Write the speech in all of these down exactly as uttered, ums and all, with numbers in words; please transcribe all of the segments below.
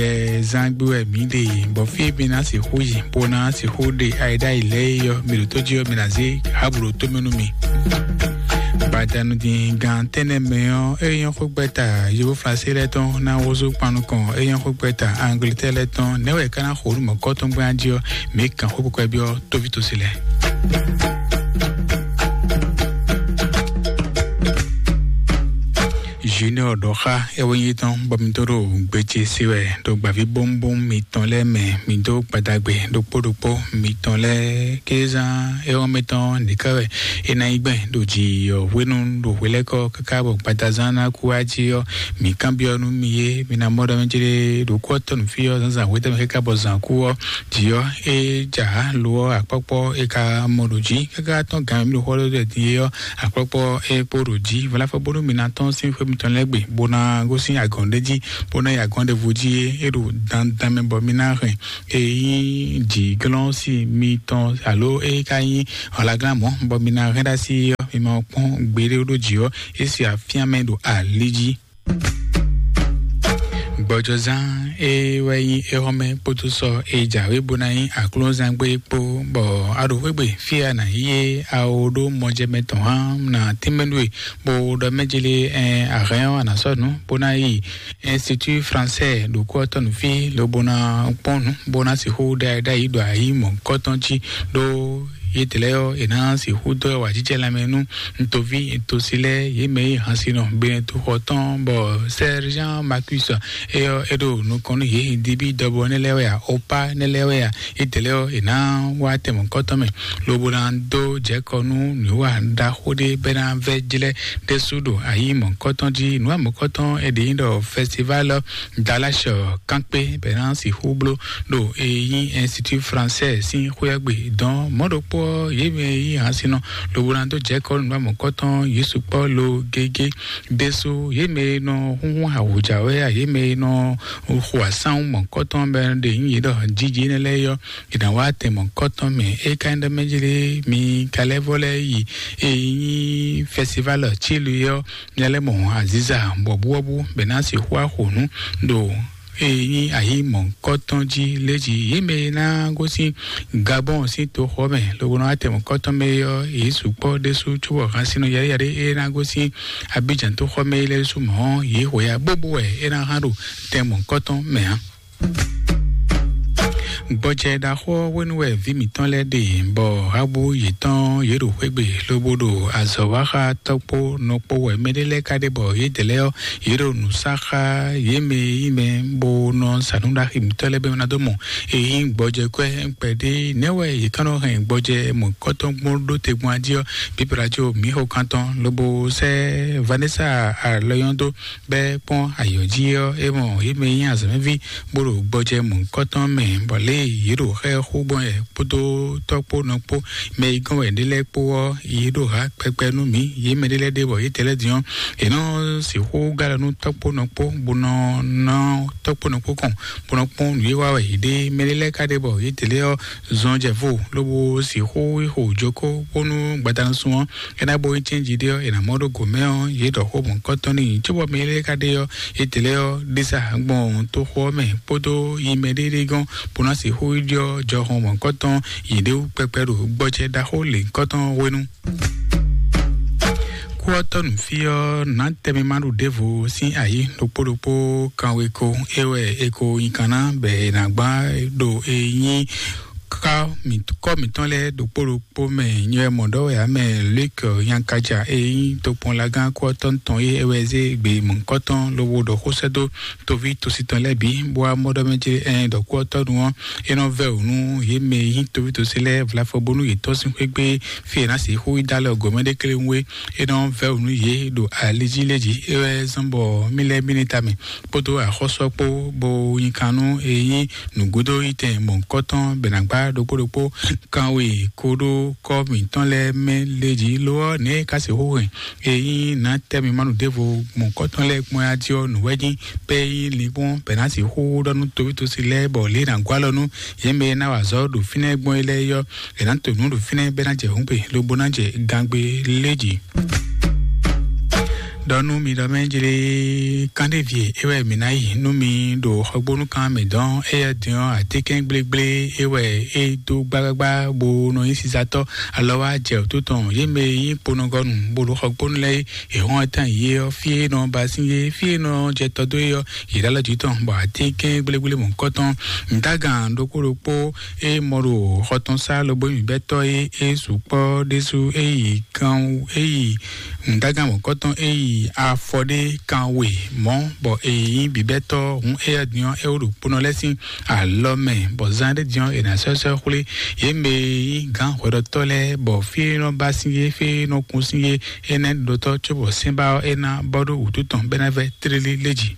Ɛ, zán gbé wɛ mǐ ɖe, bɔ fí e mi ná sixú yi, bó ná sixú ɖe ayiɖáyi lɛ́ɛ é ɔ́, mi ɖo tó jí ɔ́, mi ná zé hǎbǔ ɖo tó mɛ nú mi. Gbadanu din gan tɛ́nnɛ mɛ ɔ́, é nyɔ́ xó gbɛ́ta yovó Flansé lɛ́ɛ tɔn ná wózú kpan nukɔn, é nyɔ́ xó gbɛ́ta Angletɛ́ɛ lɛ́ɛ tɔn, nɛ̌ wɛ é ka ná xo nú mɔ̌kɔ́tɔn gbɛ́ jí ɔ́, mǐ kan xó kpɛkpɛ byɔ́ tóví tosi lɛ́ɛ. Junior ɖɔ xá é wɛ nyí tɔn bɔ mi tó ɖo gbéjé sí wɛ ɖo gbǎví bómbóm mitɔn lɛ́ɛ mɛ, mi dó gbadagbe ɖokpó ɖokpó mitɔn lɛ́ɛ kézán é wɛ mɛtɔn nìkɛ wɛ é ná nyí gbɛn ɖo jǐ ɔ́ hwenu ɖo hwelɛ́kɔ káká bɔ gbadazán ná kú wá jí ɔ́, mi kanbyɔ́ nú mi yé, mi ná mɔ ɖɔ mɛ jlé ɖo kú ɔ́ tɔn nǔ fí ɔ́ zǎnzǎn hwetɛ́ mɛ káká bɔ zǎn kú ɔ́, jǐ ɔ́ é jǎ lo ɔ́ akpɔ́kpɔ́ é ka mɔ ɖo jǐ káká tɔn gǎn mɛ mi ɖo xɔ ɖó ɖɛ din é ɔ́, akpɔ́kpɔ́ é kpo ɖo jí. Vɔlá fɔ bónú mi ná tɔ́n sín xwé mitɔn lɛ́ɛ gbe, bó ná gosín agɔ̌n ɖé jí, bó ná yi agɔ̌n ɖěvo jí é, é ɖo dandan mɛ bɔ mi ná hɛn é nyí jǐglɔ́n sí mitɔn alo é ka nyí ɔlaglán mɔ̌ bɔ mi ná hɛn ɖ'así ɔ́, mi ma kpɔ́n gbeɖé ɖó jǐ ɔ́, é se afíán mɛ ɖo ali jí. Gbɔjɔzán é wɛ nyí éhɔ́mɛ kpódó sɔ é jǎwe bó ná nyí aklúnɔzán gbé kpó, bɔ a ɖo xwé gbe fí e a nǎ yi é, a ó ɖó mɔjɛmɛ tɔn hán ná tínmɛ nú we, bó ɖɔ mɛ jlé ɛ a hɛn ɔ́ a nǎ sɔ́ nǔ bó ná yi Institut Français ɖo kú ɔ́ tɔn nú fí lobo ná kpɔ́n nǔ bó ná sixú ɖe ɖ'ayǐ ɖo ayǐ mɔ̌hunkɔtɔn jí ɖó yědɛɛ lɛ́ɛ ɔ́, è nǎ sixú dó wǎjijɛ lanmɛ nú ntoví tosi lɛ́ɛ yě mɛ e hansinɔ Benɛtoxɔ tɔn bɔ Sergent Marcus é ɔ́ é ɖo nukɔn nú yě. Dibi dɔbɔ nɛ́ lɛ́ɛ wɛ a, opa nɛ́ lɛ́ɛ wɛ a, yědɛɛ lɛ́ɛ ɔ́, è nǎ wá tɛn mɔ̌hunkɔtɔn mɛ lobo ná dó jɛ kɔ nú nǔwiwa ɖaxó ɖé bɔ é ná vɛ́ jlɛ́ ɖésú ɖo ayǐ mɔ̌hunkɔtɔn jí. Nǔwa mɔ̌hunkɔtɔn è ɖě nyí ɖɔ festival Dallas kánkpé bɔ é ná sixú bló ɖo e nyí Institut Français sín xwé ɔ́ gbe dɔn mɔ̌ ɖokpó ɔ́, yě mɛ e nyí hansinɔ lobo ná dó jɛ kɔ nú nǔwa mɔ̌hunkɔtɔn yě sukpɔ́ lo gégé ɖésú. Yě mɛ e nɔ húnhún awǔjǎwe a, yě mɛ e nɔ xo asánwú mɔ̌hunkɔtɔn bɔ é ɖe nyí yě ɖɔ jíjí énɛ́ lɛ́ɛ é ɔ́, è nǎ wá tɛn mɔ̌hunkɔtɔn mɛ. É ka nyí ɖɔ mɛ jlé mi ka lɛ́ vɔ lɛ́ yi e nyí festival Chile ɔ́, mi lɛ́ mɔ aziza bɔbúwɔ́bú bɔ é ná sixú axo nǔ ɖo e nyí ayǐ mɔ̌hunkɔtɔn jí lé jí. Yě mɛ e ná gosín Gabɔn sín toxɔ mɛ lobo ná wá tɛn mɔ̌hunkɔtɔn mɛ é ɔ́, yě sukpɔ́ ɖésú cóbɔ hansinɔ yaɖéyaɖé e ná gosín Abidjan toxɔ mɛ é lɛ́ɛ ɖésú mɔ̌, yě hwɛ̌ ya bóbó wɛ é ná hán ɖo tɛn mɔ̌hunkɔtɔn mɛ ǎ. Gbɔjɛ ɖaxó ɔ́ hwenu wɛ vǐ mǐtɔn lɛ́ɛ ɖe, bɔ hábú yětɔn yě ɖo xwé gbe lobo ɖo azɔ̌ wa xá tɔ́kpó nɔkpó wɛ. Mɛɖé lɛ́ɛ ka ɖe bɔ yědɛɛ lɛ́ɛ ɔ́, yě ɖo nǔ sa xá yě mɛ e nyí mɛ bó nɔ sa nǔ ɖaxi mǐtɔn lɛ́ɛ bɔ é ná dó mɔ e nyí gbɔjɛ kwɛ́ kpɛɖé. Nɛ̌ wɛ yě ka nɔ hɛn gbɔjɛ mɔ̌hunkɔtɔn gbɔn ɖó te gbɔn ají ɔ́? Bíbla jó mǐ xo kan tɔn lobo sɛ́ Vanessa alɔyɔ́n dó bɔ é kpɔ́n ayǐ ɔ́ jí ɔ́, é mɔ yě mɛ e nyí azɔ̌mɛví bó ɖo gbɔjɛ mɔ̌hunkɔtɔn mɛ, bɔ lě e yě ɖo xá ɛ xó gbɔn wɛ kpódó tɔ́kpónɔ kpó mɛ e gɔ́n wɛ ɖé lɛ́ɛ kpó ɔ́, yě ɖo hǎ kpɛkpɛ nú mǐ. Yě mɛɖé lɛ́ɛ ɖe bɔ yě tɛ́ lɛ́ din ɔ́, è nɔ sixú gá ɖɔ nú tɔ́kpónɔ kpó, bó nɔ ná tɔ́kpónɔ kpó kɔn, bó nɔ kpɔ́n nǔ e wa wɛ yě ɖe. Mɛɖé lɛ́ɛ ka ɖe bɔ yě tɛ́ lɛ́ ɔ́ zɔn jɛ vo, lobo sixú yi xo jokó bónú gbadanu sun ɔ́, é ná bo nyí cɛ́nji ɖé ɔ́, è nǎ mɔ ɖó gǒ mɛ ɔ́, yě ɖɔ xó mɔ̌hunkɔtɔn n'i. Cóbɔ mɛ lɛ́ɛ ka ɖe ɔ́, yě dlɛ́ ɔ́ ɖé sa gbɔn toxo ɔ́ mɛ kpódó yi mɛ ɖéɖé gɔ́n, bó ná sixú ɖiɖɔ jɔhɔn mɔ̌hunkɔtɔn yě ɖé wú kpɛkpɛ ɖo gbɔjɛ ɖaxó lěhunkɔtɔn hwenu. Kú ɔ́ tɔ́ nǔ fí ɔ́, nǎ tɛ́ mi ma ɖu ɖěvo sín ayǐ ɖokpó ɖokpó kanwe ko, é wɛ è ko nyi kan ná bɔ è nǎ gbá ɖo e nyí kɔ mǐtɔn lɛ́ɛ ɖokpó ɖokpó mɛ. Nyɛ mɔ ɖɔ wɛ ǎ mɛ Luc Yankaja e nyí tokpɔnlagán kú ɔ́ tɔn tɔn é, é wɛ zé gbe mɔ̌hunkɔtɔn lobo ɖɔ xó sɛ́ dó toví tosi tɔn lɛ́ɛ bǐ, bó wá mɔ ɖɔ mɛ ce ɛ ɖɔ kú ɔ́ tɔ́ ɖu ɔ́, é nɔ vɛ́ wǔ nú yě mɛ e nyí toví tosi lɛ́ɛ vlafɔ bónú yě tɔ́n sín xwé gbe fí è nǎ sixú yi dó alɔ gɔ̌mɛ ɖé kléwún é. É nɔ vɛ́ wǔ nú yě ɖo ali jí lé jí. É wɛ zɔ́n bɔ mí lɛ́ɛ mí ní tamɛ kpódó axɔ́sú ɔ́ kpó, bó nyi kan nú e nyí nǔgbódó yi tɛn mɔ̌hunkɔtɔn bɔ è nǎ gbá ɖokpó ɖokpó kanwe kóɖó kɔ́ mǐtɔn lɛ́ɛ mɛ lé jí. Lo ɔ́, nɛ̌ é ka sixú hɛn e nyí nǎ tɛ́ mi ma nǔ ɖěvo mɔ̌hunkɔtɔn lɛ́ɛ gbɔn yá jí ɔ́, nǔ wɛ nyí pɛ́ e nyí lingbɔn bɔ è nǎ sixú ɖɔ nú toví tosi lɛ́ɛ bɔ lě e è nǎ gɔ́ alɔ nú yě mɛ e ná wa azɔ̌ ɖo fínɛ́ gbɔn é lɛ́ɛ é ɔ́, è nǎ to nǔ ɖo fínɛ́ bɔ é ná jɛ hǔngbe lobo ná jɛ gangbe lé jí. Ɖɔ nú mi ɖɔ mɛ jlé kánɖévie é wɛ mǐ ná yi nú mi ɖo xɔgbónúkan mǐ dɔn éyɛ́ din ɔ́, atínkɛn gblégblé é wɛ é dó gbágbágbá bó nɔ nyí sisatɔ́ alɔ wá jɛ wǔtú tɔn yě mɛ e nyí kponɔgɔnu bó ɖo xɔgbónu lɛ́ɛ é. È hɔn ɛ tán yě ɔ́, fí e nɔ ba sín yé, fí e nɔ jɛ tɔ dó é ɔ́, yě ɖo alɔ jǐ tɔn, bɔ atínkɛn gblégblé mɔ̌kɔtɔn nǔdágan ɖokpó ɖokpó e mɔ ɖo xɔ tɔn sá lobo nyí bɛ́tɔ́ é, é sukpɔ́ ɖésú é yi kan é yi nǔdágan mɔ̌kɔtɔn é yi afɔ ɖé kan we mɔ̌, bɔ è nyí bǐbɛ́tɔ́ hǔn éyɛ́ din ɔ́, é wó ɖo kponɔ lɛ́ɛ sín alɔ mɛ, bɔ zán ɖé din ɔ́, è nǎ sɔ́ sɔ́ xwlé yě mɛ e nyí gǎn hwɛɖɔtɔ́ lɛ́ɛ, bɔ fí e nɔ ba sín yé, fí e nɔ kun sín yé, énɛ́ ɖotɔ́ cóbɔ sɛ́nbá ɔ́ é ná bɔ ɖó wǔtu tɔn bɔ é ná vɛ́ tlélí lé jí.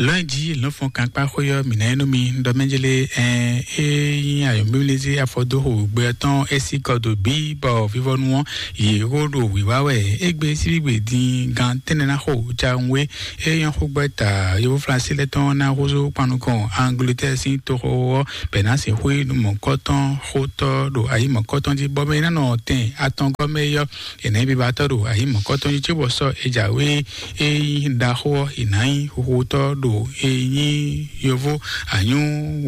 Lɔ̌nyijǐ lɔ̌nfɔn kankpáxwé ɔ́, mǐ ná nyí nú mi ɖɔ mɛ jlé ɛn é nyí ayɔ̌mímlízí afɔdóxo gbɛ ɔ́ tɔn é sí kɔ dó bí bɔ vivɔnu ɔ́ yě xó ɖo wǐwá wɛ. Égbé síbígbe din gan tɛ́nnɛ ná xo jawunwé é nyɔ́ xó gbɛ́ ta yovó Flasi lɛ́ɛ tɔn ná húzú kpan nukɔn Angleterre sín toxo ɔ́, bɛ̌ ná sixú yi nú mɔ̌kɔtɔn xótɔ́ ɖo ayǐ mɔ̌kɔtɔn jí, bɔ mɛ e ná nɔ tɛn atɔngɔ́ mɛ é ɔ́, è nǎ nyí bibatɔ́ ɖo ayǐ mɔ̌kɔtɔn jí cóbɔ sɔ́ è jǎwe é nyí ɖaxó ɔ́, è nǎ nyí huhutɔ́ ɖo é nyí yovó anyú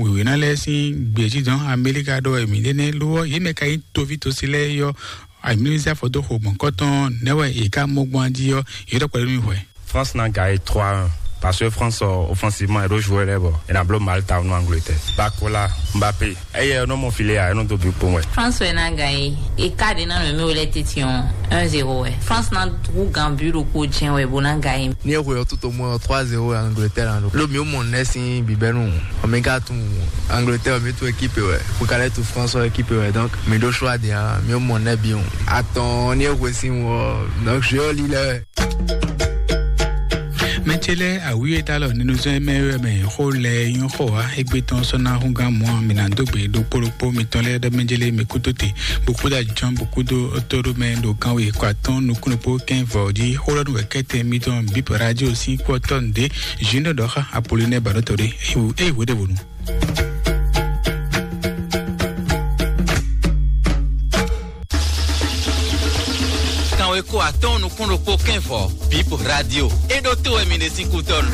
wěwéná lɛ́ɛ sín gbějínjɔ́n Amɛlika ɖɔ wɛ mǐ ɖe nɛ́ ló ɔ́, yě mɛ ka nyí toví tosi lɛ́ɛ é ɔ́, amǐlízá fɔdóxo mɔ̌kɔtɔn nɛ́ wɛ è ká mɔ gbɔn jí ɔ́, yě ɖɔ kpɛɖé nú mì hwɛ. France ná gagné trois un parce que France, euh, offensivement, elle doit jouer les bords. Elle a bloqué Malte, Angleterre. Bakola, Mbappé. Eye nɔ mɔ file ya, nɔ do bi kpɔn wɛ. France wɛ ná gagné. E ka de na mɛ mi wele titi on un zéro wɛ. France na wu gan bi ɖo ko jɛn wɛ bo ná gagné. Ni e hwe ɔtú to mɔ trois zéro Angleterre an do. Lo mi mɔ nɛ sin bibɛnu. O mi ka tun Angleterre mi tu équipe wɛ. Ko ka lɛ tu France équipe wɛ. Donc mi do choix de an mi mɔ nɛ bi on. Attends, ni e hwe sin wɔ. Donc je li lɛ. Mɛtsɛlɛ awiye dalɔ ninuzɔn mɛ wɛ mɛ xo lɛ yɔn xɔ wa egbe tɔn sɔna hungan mɔ mina dogbe ɖokpó ɖokpó mitɔn lɛ ɖɔ mɛjɛlɛ mɛ kudo te bukuda jɔn bukudo toro mɛ ɖo kanwe kɔ atɔn nukun ɖokpó kɛn vɔ ji xo lɔ nu wɛ kɛtɛ mitɔn bip radio si kpɔtɔ nde jin ɖɔ xa apoli nɛ ba ɖɔ tɔ ɖe eyi wo ɖe wonu. Kanwe kó atɔn nukun ɖokpó kɛn vɔ bip radio e ɖo to wɛ mi ɖe sín kutɔnu.